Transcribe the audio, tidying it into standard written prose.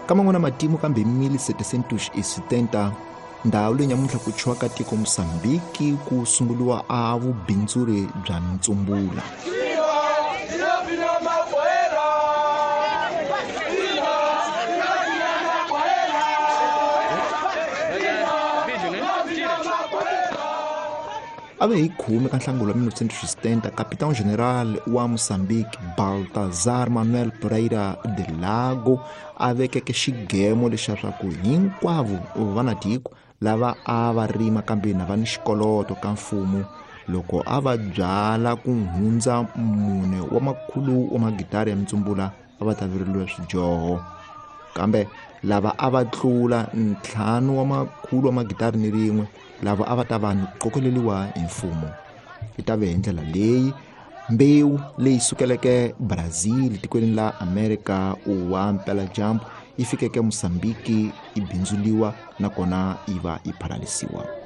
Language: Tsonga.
Ka man'wana matimu kambe hi 1770, ndhawu leyi nyamuntlha ku tshwiwaka tiko Mosambiki ku sunguliwa a vubindzuri bya mintsumbula. A ve hi 10 ka Nhlangula 1970, Capitão General wa Mozambique Baltazar Manuel Pereira de Lago a vekeke xigemo lexa swa ku hinkwavo va na tiko lava a va rima kambe na va ni xikoloto ka mfumo, loko a va byala ku hundza 4 wa makhulu wa magitari ya mintsumbula a va ta vereliwa swidyoho. Kambe lava a va tlula 5 wa makhulu wa magitari ni rin'we lava a va ta va ni qokeleliwa hi mfumo. Yi ta ve hi ndlela leyi mbewu leyi sukeleke Brazil tikweni la Amerika wa mpeladyambu yi fikeke Mozambique yi bindzuliwa nakona yi va yi phalalisiwa.